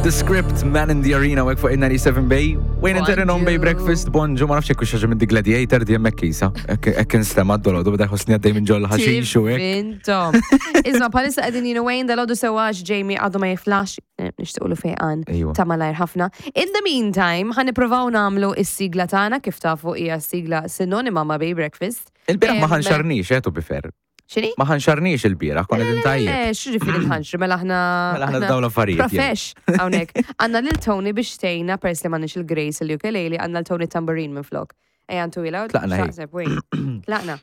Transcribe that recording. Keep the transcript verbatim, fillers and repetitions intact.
The Script, Man in the Arena, wek fuq il-ninety-seven Bay. Wayne and Taryn on Bay Breakfast, bonġu, ma nafx jekk xaġa minn The Gladiator di hemmhekk kisa. Hekk instema' d-dolodu, beda jħossni għaddej minn ġol ħaxix u hekk. Intom. Isma', bħalissa qegħdin jien u Wayne dal-għodu sewax Jamie għadu ma jiflax, eh, nixtiequlu fejqan Ejwa. ta' malajr ħafna. In the meantime, ħa nippruvaw nagħmlu is-sigla tagħna, kif tafu hija sigla sinonima ma' Bay Breakfast. Il-bieraħ ma Em, ħanxarnix, eh, to be fair. X'inhi? Ma ħanxarnix il-bieraħ, konna qegħdin tajjeb. Eh, x'ġifieri tħanxri, mela aħna. Mela aħna dawn l-affarijiet, jien. Profesh, hawnhekk. Għandna lil Tony biex tgħinna pers li m'għandniex il-Grace il-ukulele, għandna l-Tony tambourine minn flok. Ejja, ntu ila. Tlaqna, ej. Xaqseb, wejn. Tlaqna.